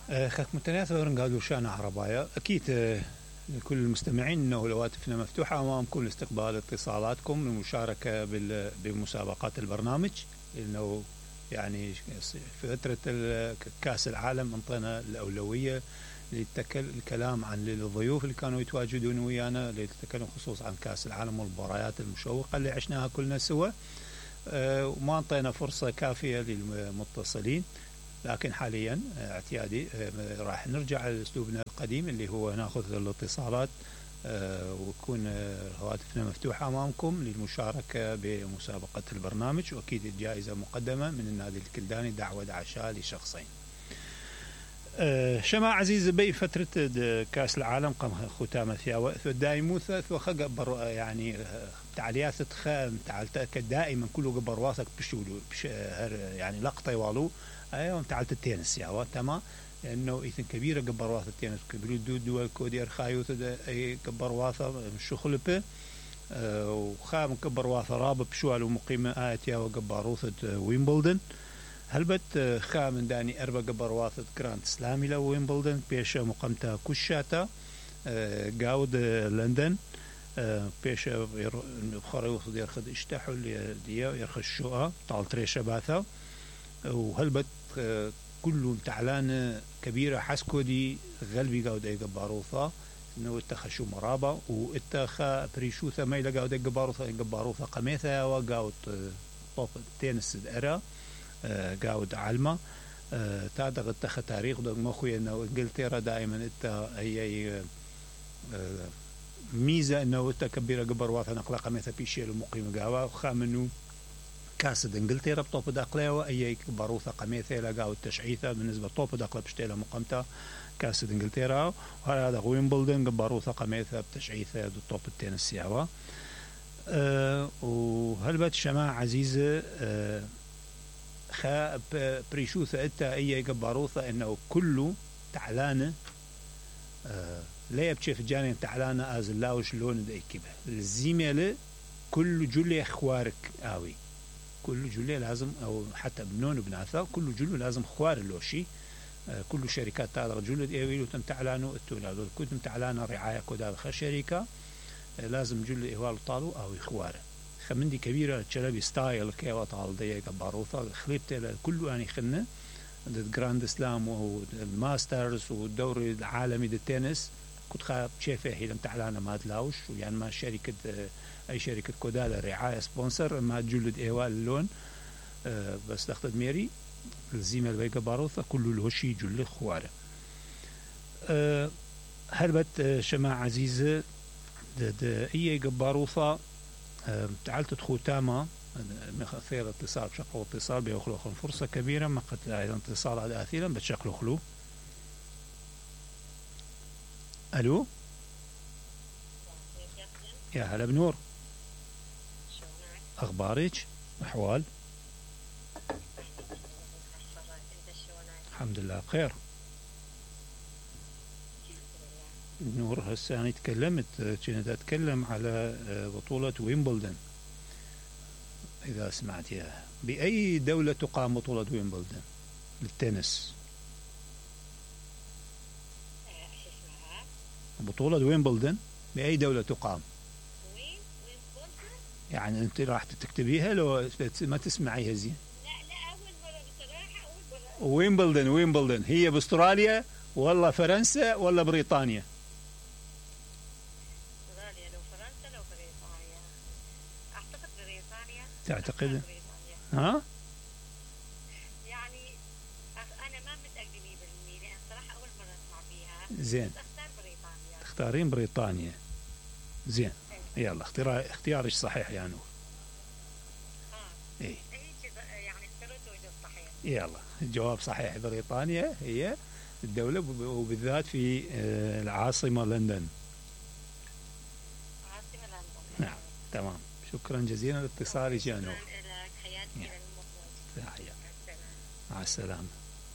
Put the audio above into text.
خاك متناثر قالوا شان عربايا أكيد. لكل المستمعين أنه هواتفنا مفتوحة أمامكم لاستقبال اتصالاتكم للمشاركة بمسابقات البرنامج. إنه يعني في فترة كأس العالم انطينا الأولوية للكلام عن الضيوف اللي كانوا يتواجدون ويانا للتكلم خصوصا عن كأس العالم والمباريات المشوقة اللي عشناها كلنا سوا. وما انطينا فرصة كافية للمتصلين، لكن حاليا اعتيادي راح نرجع لأسلوبنا القديم اللي هو ناخذ الاتصالات وتكون هواتفنا مفتوحة أمامكم للمشاركة بمسابقة البرنامج. وأكيد الجائزة مقدمة من النادي الكلداني دعوة عشاء لشخصين. شما عزيز بي فترة كأس العالم قام ختامة فيها دائموثة وخقبر يعني تعليات تخام تعلت دائما كله قبر واثق بشولو يعني لقطة والو ايوه تعلت التنس يا تمام لانه ايثن كبيره قبر واثق التنس كبير دول كودير خايوث اي قبر واثق الشغل به وخام قبر واثق رابط بشوال ومقيمه اتيا وقبروث ويمبلدن هلبت خام داني اربع قبر واثق جراند سلامي لو ويمبلدن بيش مقامته كشاتا قاود لندن بيش خريوث دير خد اشتحوا دي يرخ الشقه طال تريشه باثا وهلبت كله تعلان كبيرة حسكو دي غلبي قاود اي قباروثا انه اتخشو مرابا واتخا بريشوثا ما يلا قاود اي قباروثا قميثا وقاود طوب تينس ارا قاود علمة تادغ اتخا تاريخ دو مخوي انه انجلترا دائما اتا اي ميزة انه اتا كبيرة قباروثا نقلا قميثا بيشيل ومقيم قاوا وخامنو كاسد انجلترا بطوب داقله واي باروثه قميثه لقاو التشعيثه بالنسبه لطوب داقله بشتيله مقامته كاسد انجلترا وهذا ويمبلدن باروثه قميثه بتشعيثه طوب التنس ياوا وهلبت شماعه عزيزه خا بريشوثه اتا اي باروثه انه كله تعلانه لا يبكي في جانب تعلانه ازلاوش لون دايكبه الزيمله كل جولي اخوارك اوي كل جلة لازم أو حتى بنون بناثا كل جلة لازم خوار اللوشي كل شركات تاع جلة إيويلو تم تعلانو التولاد كنتم تعلانو رعاية كودال شركة لازم جلة إيوال طالو أو إخواره خمندي كبيرة تشلبي ستايل كيوا طال ديك باروثا خليبت كله يعني خلنا الجراند سلام والماسترز والدوري العالمي للتنس كنت خاب شايفه هي لم تعلانه ما تلاوش يعني ما شركة اي شركه كودالا رعايه سبونسر ما جلد ايوال اللون بس تاخذ ميري الزيمه البيقه باروثه كله الهشي جل خواره هربت شماعه عزيزه اي باروثه تعالت ختامه خير اتصال شقوا اتصال بيخلو فرصه كبيره ما قد ايضا اتصال على اثيرا بتشقلو خلو الو يا هلا بنور أخبارك؟ أحوال؟ الحمد لله بخير. نور هسه أنا تكلمت كنت أتكلم على بطولة ويمبلدن إذا سمعتيها. بأي دولة تقام بطولة ويمبلدن للتنس؟ بطولة ويمبلدن بأي دولة تقام؟ يعني انت راح تكتبيها لو ما تسمعيها زين؟ لا اول مره بصراحه اول مره. ويمبلدن هي باستراليا ولا فرنسا ولا بريطانيا؟ استراليا لو فرنسا لو بريطانيا اعتقد بريطانيا. تعتقد؟ ها؟ يعني انا ما متاكده 100% لان صراحه اول مره اسمع فيها. زين. اختار بريطانيا. تختارين بريطانيا. زين. يلا اختيارك صحيح يا نور. ايه يعني اخترت وجه صحيح. يلا الجواب صحيح بريطانيا هي الدولة وبالذات في العاصمة لندن. عاصمة لندن. نعم تمام شكرا جزيلا لاتصالك يا نور. شكرا لك حياتي للمخرج. مع السلامة.